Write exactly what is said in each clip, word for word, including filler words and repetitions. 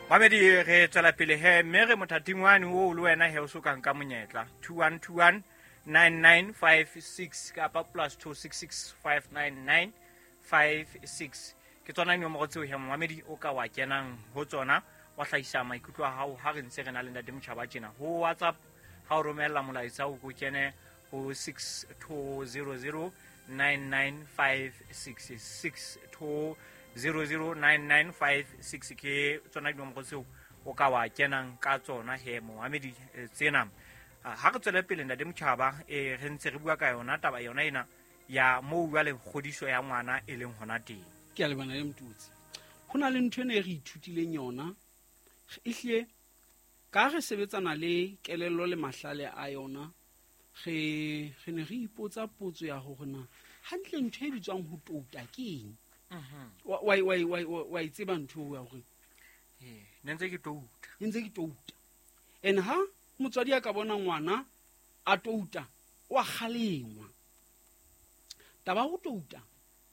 Mamedi, re tswela pele he, mme re mothating wane oo le wena he o so ka nka monyetla. two one two one nine nine five six kapa plus two six six five nine nine five six. Ke tsona dinomoro tseo he momamedi o ka wa kenang ho tsona, wa hlahisa maikutlo a hao ha re ntse re na le Ntate Motjhaba tjena. Ho WhatsApp ha o romella molaetsa o ko kene ho six two zero zero nine nine five six, six two zero zero nine nine five six ke tsona dinomoro tseo o ka wa kenang ka tsona he momamedi, eh, tsena. Ah, ha re tswele pele Ntate Motjhaba, eh, re ntse re bua ka yona taba yona ena ya moo jwale kgodiso ya ngwana e leng hona teng. Ke a lebana le Motutsi. Ho na le ntho ena e re ithutileng yona, ehlile ka re sebetsana le kelello le mahlale a yona, re, re ne re ipotsa potso ya hore na hantle ntho e bitswang ho touta ke eng? Mhm. Wa, wa, wa, wa, wa, wa e tseba ntho eo ya hore Ee, ne ntse ke touta. Ne ntse ke touta. And ha motswadi a ka bona ngwana a touta, o a kgalengwa. Taba ya ho touta,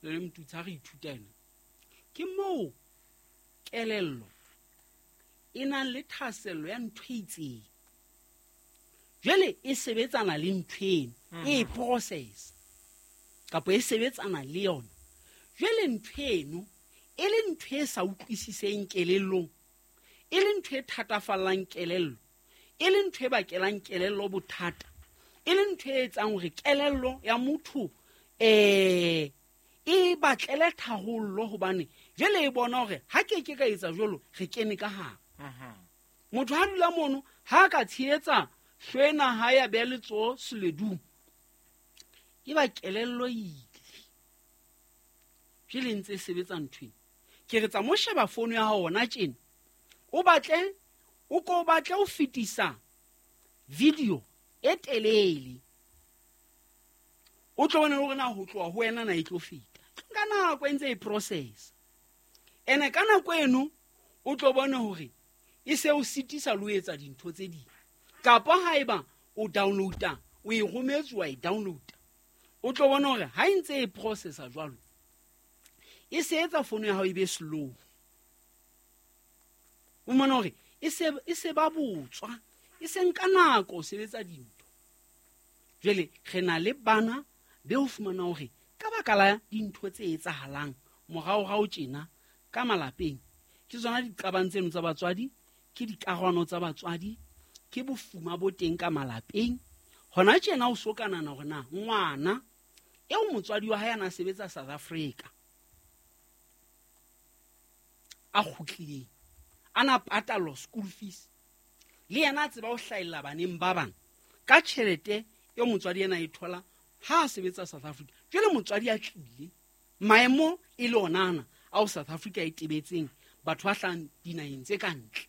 le le Motutsi ha re ithuta ena, ke moo kelello e nang le thahasello ya ntho e itseng. Jwale e sebetsana le ntho eno, e e Mhm. process, kapa e sebetsana le yona. Jwale ntho eno e le ntho e sa utlwisiseng kelellong, e le ntho e thatafallang kelello, e le ntho e bakelang kelello bothata, e le ntho e etsang hore kelello ya motho, eh, e batlele tharollo, hobane jwale e bona hore ha ke ke ka etsa jwalo, re kene ka hare. Mhm. Motho ha dula mono, ha ka tshehetsa hlwena ha ya beha letsoho seledung, e ba kelello ile. Jwale e ntse e sebetsa ntho ena. Ke re tsa mo sheba fono ya hao hona tjena, o batle, o ko batle ho fetisa video e telele, o tlo bona hore na ho tloha ho wena na e tlo feta. Ka nako e ntse e process. Ene ka nako eno o tlo bona hore e se o sitisa le ho etsa dintho tse ding. Kapa haeba o downloada, o e rometse wa e downloada, o tlo bona hore ha e ntse e processa jwalo, e se etsa fono ya hao e be slow. O mmone hore e se, e se ba botswa, e se nka nako ho sebetsa dintho. Jwale re na le bana be o fumana hore ka baka la dintho tse etsahalang moraorao tjena ka malapeng, ke tsona diqabang tseno tsa batswadi, ke dikarwano tsa batswadi, ke bofuma bo teng ka malapeng. Hona tjena o so ka nahana hore na ngwana eo motswadi wa hae a na sebetsa South Africa a kgutlileng, a na patallwa school fees, le yena a tseba ho hlahella baneng ba bang ka tjhelete eo motswadi ena e thola ha a sebetsa South Africa. Jwale motswadi a tlile, maemo e le ona ana ao South Africa e tebetseng batho ba hlahang dinaheng tse ka ntle.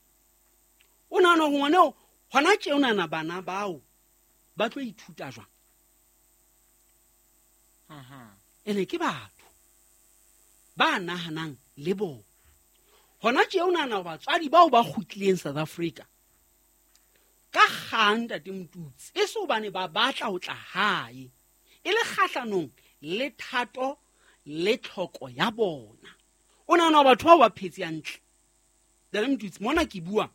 O nahana hore ngwana eo hona tje o nahana bana bao ba tlo ithuta jwang? Mhm. Ene ke batho ba nahanang le bona. Hona tje o nahana hore batswadi bao ba kgutlileng South Africa ka kgang Ntate Motutsi, e se hobane ba batla ho tla hae, e le kgahlanong le thato le tlhoko ya bona. O nahana hore batho bao ba phetse hantle? Ntate Motutsi, mona ke bua,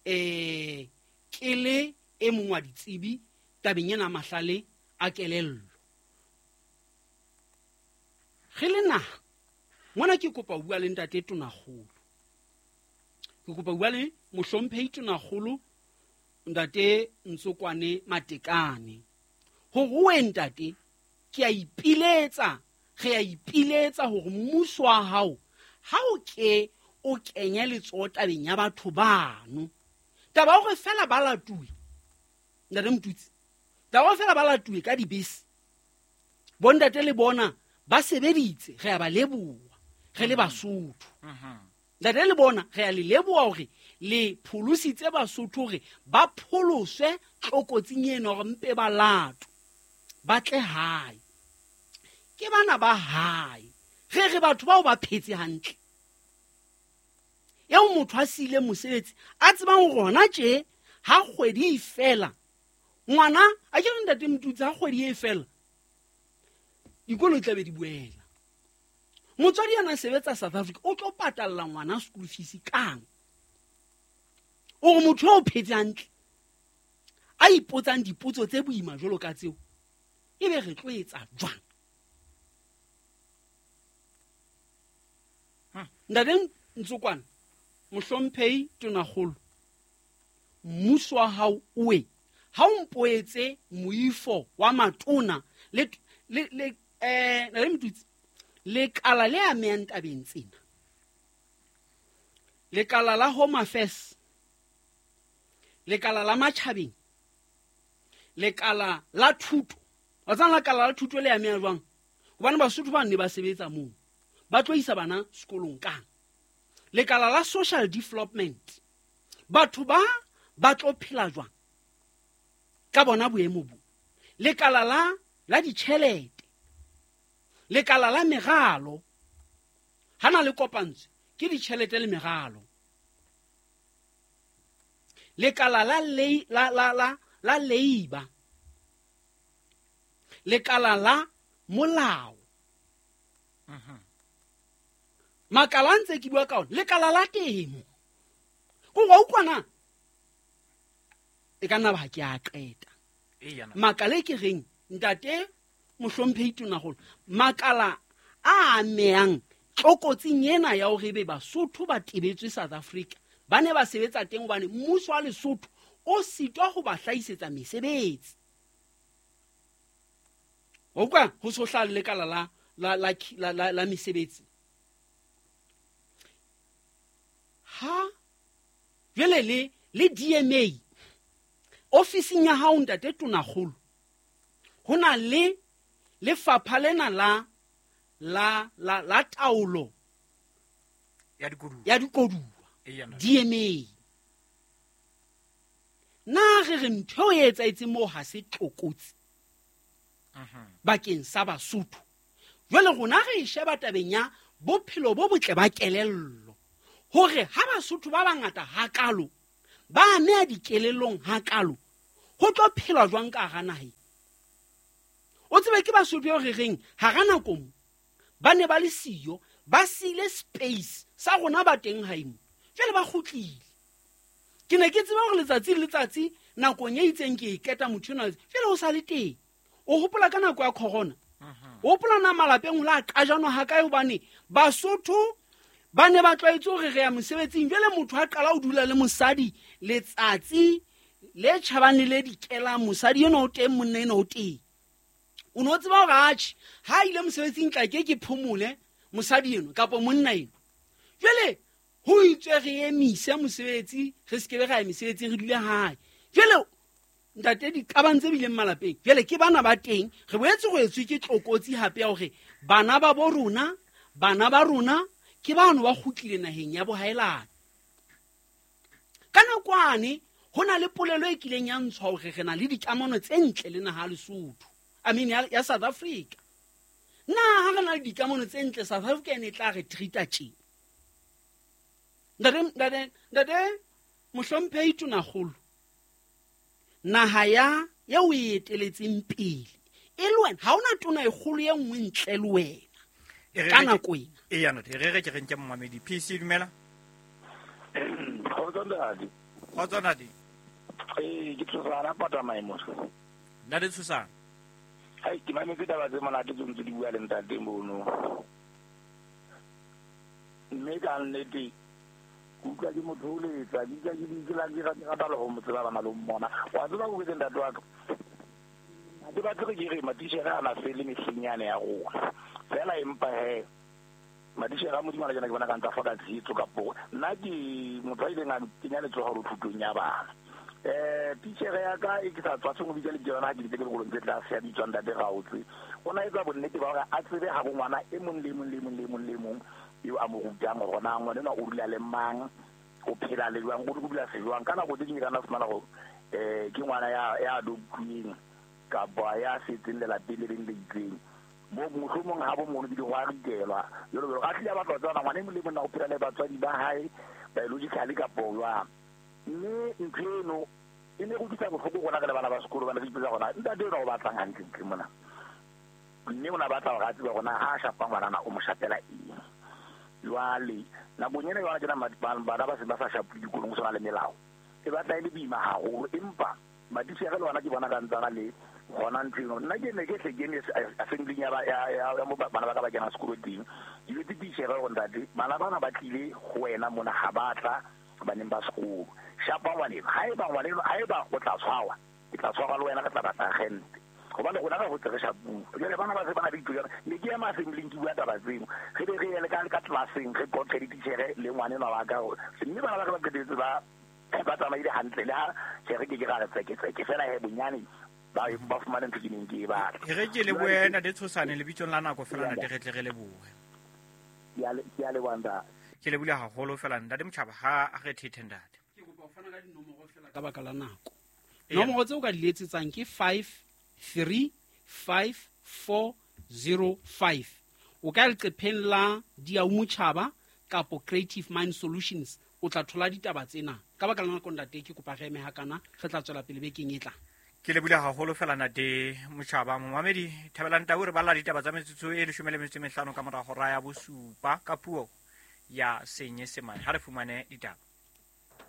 eh, ke le e mong wa ditsebi tabeng ena mahlale a kelello. Re le naha, mona ke kopa ho bua le Ntate Tonakgolo. Ke kopa ho bua le Mohlomphehi Tonakgolo Ntate Ntsokwane Matekane. Hore we ntate, ke a ipiletsa, re a ipiletsa hore mmuso wa hao ha o ke o kenye letsoho tabeng ya batho bano. Taba ya hore feela ba latuwe, Ntate Motutsi, taba ya hore feela ba latuwe ka dibese, bontate le bona ba sebeditse, re a ba leboha, re le Basotho. Mhm. Ntate le bona re a le leboha hore le pholositse Basotho hore ba pholoswe tlokotsing eno hore mpe ba latwe, ba tle hae. Ke bana ba hae. Re re batho bao ba phetse hantle. Eo motho a siile mosebetsi, a tsebang hore hona tje ha kgwedi e fela, ngwana a ke re Ntate Motutsi, ha kgwedi e fela dikolo di tla be di boela. Motswadi a na sebetsa South Africa o tlo patalla ngwana school fees kang? O re motho o phetse hantle a ipotsang dipotso tse boima jwalo ka tseo, ebe re tlo etsa jwang? Ntate Ntsokwane, mohlomphehi Tonakgolo, mmuso wa hao owe ha o mpoetse moifo wa matona le le le eh le mtutsi lekala le amehang tabeng tsena, lekala la Home Affairs, lekala la matjhabeng, lekala la thuto. Wa tsana lekala la thuto le ameha jwang? Hobane Basotho ba ne ba sebetsa moo, ba tlo isa bana sekolong kang? Lekala la social development, batho ba ba tlo phela jwang ka bona boemo bo? Lekala la la ditjhelete, lekala la meralo, hana le kopantswe ke ditjhelete le meralo. Lekala la le la la la la leiba, lekala la molao, makala ntse ke bua ka ona, lekala la temo. Go wa utlwana e ka nna ba ke a qeta. Makala e ke reng ntate mohlomphehi Tonakgolo, makala a amehang tlokotsing ena ya hore ebe Basotho ba tebetswe South Africa, ba ne ba sebetsa teng hobane mmuso wa Lesotho o sitwa ho ba hlahisetsa mesebetsi. Wa utlwa ho so hlaha lekala la la la la la mesebetsi. Ha jwale le le D M A ofising ya hao ntate Tonakgolo, ho na le lefapha lena la la la la taolo ya dikoduwa, ya dikoduwa D M A. Na re re ntho e etsahetseng moo ha se tlokotsi bakeng sa Basotho. Jwale rona re e sheba tabeng ya bophelo bo botle ba kelello, hore ha Basotho ba bangata hakalo ba ameha dikelellong hakalo, ho tlo phelwa jwang ka hara naha? O tsebe ke Basotho eo re reng hara nako mo ba ne ba le siyo, ba siile space sa rona ba teng hae mo, jwale ba kgutlile. Ke ne ke tseba hore letsatsi le letsatsi nakong e itseng ke e keta motho enwa, jwale o sa le teng. O hopola ka nako ya corona, o hopola na malapeng ho la qajanwa hakae, hobane Basotho ba ne ba tlwaetse hore re ya mosebetsing. Jwale motho ha qala ho dula le mosadi letsatsi le tjhabang le le dikelang, mosadi enwa o teng, monna enwa o teng. O no tseba hore atjhe ha ile mosebetsing tla ke ke phomole mosadi enwa kapa monna enwa. Jwale ho itswe re emise mosebetsi, re se ke be ra ya mesebetsing, re dule hae. Jwale ntate diqabang tse bileng malapeng, jwale ke bana ba teng. Re boetse go etswe ke tlokotsi hape ya hore bana ba bo rona, bana ba rona ke bano ba kgutlile naheng ya bohaelane. Ka nakwane ho na le polelo e kileng ya ntshwa hore re na le dikamano tse ntle le naha ya Lesotho, I mean ya, ya South Africa. Na ha re na le dikamano tse ntle, South Africa e ne tla re treat-a tje? Ntate, ntate, ntate mohlomphehi Tonakgolo, naha ya eo o e eteletseng pele e le wena, ha hona tona e kgolo e nngwe ntle le wena ka nako ena. Eya ntate, re re ke re nke momamedi. P C dumela. Kgotso ntate. Kgotso ntate. Eh, ke Tshosana pata maemo. Ntate Tshosana. Hai, ke mametse taba tse monate tse ntse di bua le ntate mono. Mme ka nnete ke utlwa ke motho o letsa, ke utlwa ke di la ke rata rata le ho mo tseba bana le mmona. Wa tseba go ke ntate wa ka. Ke batla ke re matitjhere a na fele mehleng yane ya rona. Fela empa he matitjhere a Modimo a jana ke bona ka ntsa fa ka tshetso kapo nna ke motho a ileng a kenya letsoho hore thutong ya bana. Eh titjhere ya ka e ke sa tswa tsong bitsa le tsona ha ke ditse ke dikolong tse tlase ya bitswang ntate Raotse. O na etsa bonnete ba hore a tsebe ha bo ngwana e mong le mong le mong le mong le mong eo a mo rutang hore na ngwana enwa o dula le mang, o phela le jwang, o dula se jwang. Ka nako tse ding ka nna fumana hore eh ke ngwana ya ya adoptuweng kapa ya setseng lelapeng le leng le itseng. Bo mohlomong ha bo mono bile go a ritelwa jalo jalo. A tlile a batla ho tseba ngwana e mong le mong na o phela le batswadi ba hae biologically kapa jwang. Mme ntho eno e ne go utlwisa bohloko rona re le bana ba sekolo, bana re ipotsa hore ntate enwa o batlang hantlentle mona. Mme o na batla hore a tsebe hore na ha a shapa ngwanana o mo shapela eng. Jwale nakong ena yona tjena bana ba se ba sa shapuwe dikolong, ho sona le melao. E batla e le boima haholo, empa matitjhere le ona ke bona ka ntsana le hona ntho eno. Nna ke ne ke hle ke eme assembling ya ba ya ya mo bana ba ka ba kena sekolo teng. Ke jwetse titjhere hore ntate, bana bana ba tlile ho wena mona ha ba tla baneng ba sekolo. Shapa ngwaneno, haeba ngwaneno, haeba o tla tshwarwa, ke tla tshwarwa le wena, re tla batla agente. Hobane rona re hotse re shapuwe. Jwale bana ba se ba na le ditokelo. Ne ke ema assembling ke bua taba tseo. Re be re ye le ka ka classeng re qoqe dititjhere le ngwanenwa wa ka. Mme bana ba ka ba qetetse ba ba tsamaile hantle le ha tjhere ke ke ra re tseke tseke fela he bonyane ba ba fumane ntho ke neng ke e batla. E re ke lebohe ntate Tshosane lebitsong la nako fela ntate re tle re lebohe. Ke a le ke a leboha ntate. Ke lebohile haholo fela ntate Motjhaba ha a re thethe ntate. Ke kopa ho fana ka dinomoro fela ka baka la nako. Nomoro tseo ka di letsetsang ke five three five four zero five. O ka leqepheng la Diau Motjhaba kapo Creative Mind Solutions o tla thola ditaba tsena. Ka baka la nako ntate ke kopa re eme hakana, re tla tswela pele bekeng e tlang. Ke lebohile haholo fela ntate Motjhaba. Momamedi Thabelang Tau re balla ditaba tsa metsotso e leshome le metso e mehlano ka mora hora ya bosupa ka puo ya Senyesemane. Ha re fumane ditaba.